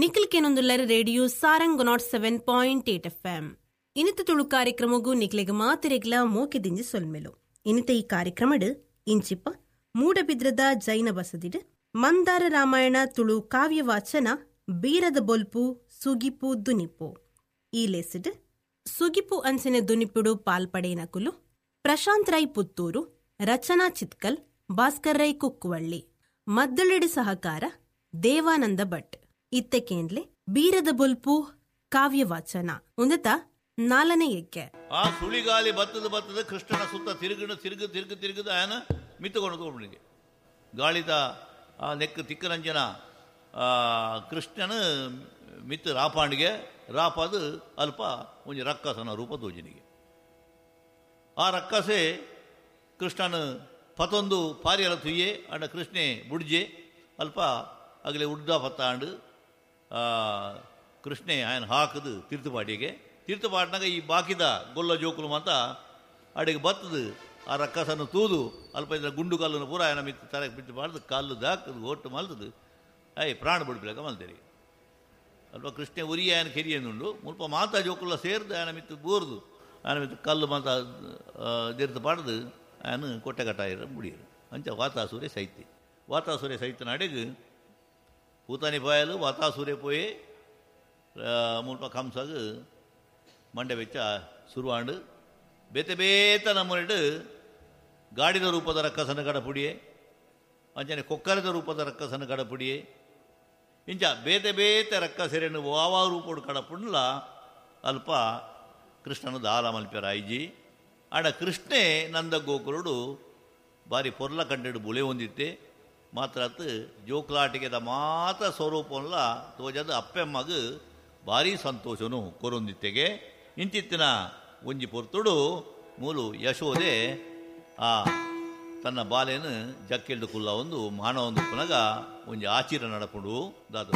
Nikhil ಕೆನೊಂದುಲ್ಲರ್ radio Sarang 107.8 FM. ಇನಿತ ತುಳು ಕಾರ್ಯಕ್ರಮಗೂ ನಿಕ್ಲೆಗ್ ಮಾತೆರೆಗ್ಲ ಮೋಕೆ ದಿಂಜಿ ಸೊಲ್ಮೆಲು. ಇನಿತ ಈ ಕಾರ್ಯಕ್ರಮಡ್ ಇಂಚಿಪ ಮೂಡಬಿದ್ರದ ಜೈನ ಬಸದಿಡ್ ಮಂದಾರ ರಾಮಾಯಣ ತುಳು ಕಾವ್ಯ ವಾಚನ ಬೀರದ ಬೊಲ್ಪು ಸುಗಿಪು ದುನಿಪು. ಈ ಲೇಸಿಡ್ ಸುಗಿಪು ಅಂಚನೆ ದುನಿಪುಡು ಪಾಲ್ಪಡೇನಕುಲು ಪ್ರಶಾಂತ್ ರೈ ಪುತ್ತೂರು, ರಚನಾ ಚಿತ್ಕಲ್, ಭಾಸ್ಕರ್ ರೈ ಕುಕ್ಕುವಳ್ಳಿ, ಮದ್ದಳೆಡು ಸಹಕಾರ ದೇವಾನಂದ ಭಟ್. ಇತ್ತೆ ಕೇಂದ್ಲೆ ಬೀರದ ಬೊಲ್ಪು ಕಾವ್ಯ ವಾಚನ ಉಂದತ ನಾಲನೇ ಎಕ್ಕೆ. ಆ ಸುಳಿಗಾಲಿ ಬತ್ತದ ಬತ್ತದ ಕೃಷ್ಣನ ಸುತ್ತ ತಿರುಗಿನ ತಿರುಗು ತಿರುಗು ತಿರುಗದ ಆಯನ ಮಿತ್ತುಕೊಂಡು ತಗೊಂಡಿಗೆ ಗಾಳಿದ ಆ ನೆಕ್ ತಿಕ್ಕರಂಜನ ಕೃಷ್ಣನ ಮಿತ್ತು ರಾಪಾಂಡಿಗೆ ರಾಪಾದು ಅಲ್ಪ ಒಂಜಿ ರಕ್ಕಸನ ರೂಪ ತೋಜಿನಿಗೆ. ಆ ರಕ್ಕಸೆ ಕೃಷ್ಣನ ಪತೊಂದು ಪಾರಿಯಲ ತುಯ್ಯೆ ಅಂಡ ಕೃಷ್ಣೆ ಬುಡ್ಜೆ ಅಲ್ಪ ಅಗಲೆ ಉಡ್ದ ಪತ್ತಾಂಡು ಕೃಷ್ಣೆ ಆಯನ ಹಾಕದು ತೀರ್ಥಪಾಟಿಗೆ. ತೀರ್ಥಪಾಟ್ನಾಗ ಈ ಬಾಕಿದ ಗೊಲ್ಲ ಜೋಕುಲು ಮಾತ ಅಡಿಗೆ ಬತ್ತದು ಆ ರಕ್ಕಸನ್ನು ತೂದು ಅಲ್ಪ ಇದರ ಗುಂಡು ಕಲ್ಲನ್ನು ಪೂರ ಆಯನ ಮಿತ್ತು ತಲೆ ಬಿಟ್ಟು ಮಾಡ್ದು ಕಲ್ಲು ದಾಕದು ಒಟ್ಟು ಮಲ್ತದು ಅಯ್ ಪ್ರಾಣ ಬಿಡ್ಬಿಲಕ ಮಲ್ತೇರಿ. ಅಲ್ಪ ಕೃಷ್ಣೆ ಉರಿ ಆಯನ ಕೆರಿಯನ್ನುಂಡು ಮುಲ್ಪ ಮಾತಾ ಜೋಕುಲ ಸೇರ್ದು ಆಯನ ಮಿತ್ತು ಬೋರ್ದು ಆಯನ ಮಿತ್ತು ಕಲ್ಲು ಮಾತ ತೀರ್ಥ ಪಾಡ್ದು ಆಯನ ಕೊಟ್ಟೆ ಕಟ್ಟಾಯಿರ ಮುಡಿಯರು. ಅಂಚ ವಾತಾಸೂರ್ಯ ಸೈತಿ ವಾತಾಸೂರ್ಯ ಸೈತನ ಅಡಿಗೆ ಪೂತಾನಿ ಪಾಯಲು ವಾತಾಸೂರ್ಯ ಪೋಯೆ ಮುಲ್ಪ ಕಂಸಗ ಮಂಡೆ ಬೆಚ್ಚ ಸುರುವಾಂಡು ಬೇತೆ ಬೇತ ನಮ್ಮನಿಡು ಗಾಡಿದ ರೂಪದ ರಕ್ಕಸನ ಕಡಪುಡಿಯೆ ಅಂಚನೆ ಕೊಕ್ಕರದ ರೂಪದ ರಕ್ಕಸನ ಕಡಪುಡಿಯೆ ಇಂಚ ಬೇತೆ ಬೇತೆ ರಕ್ಕಸೆರೆನು ವಾವಾ ರೂಪೋಡು ಕಡಪುಂಡ್ಲ ಅಲ್ಪ ಕೃಷ್ಣನ ದಾಲ ಮಲ್ಪೆರಾಯಿಜಿ. ಆಡ ಕೃಷ್ಣೆ ನಂದ ಗೋಕುರುಡು ಬಾರಿ ಪೊರ್ಲ ಕಂಡೆಡು ಬುಳೆ ಹೊಂದಿತ್ತೆ ಮಾತ್ರ ಜೋಕ್ಲಾಟಿಗೆದ ಮಾತ ಸ್ವರೂಪಂಲ ತೋಜದ ಅಪ್ಪೆಮ್ಮಗ ಭಾರಿ ಸಂತೋಷನು ಕೊರೊಂದಿತ್ತೆಗೆ. ಇಂಚಿತ್ತಿನ ಒಂಜಿ ಪೊರ್ತುಡು ಮೂಲು ಯಶೋದೆ ಆ ತನ್ನ ಬಾಲೆನು ಜಕ್ಕೆಲ್ಡು ಕುಲ್ಲ ಒಂದು ಮಾನವ ಒಂದು ಪುನಗ ಒಂಜಿ ಆಚಿರ ನಡಪುಂಡು ದಾದ.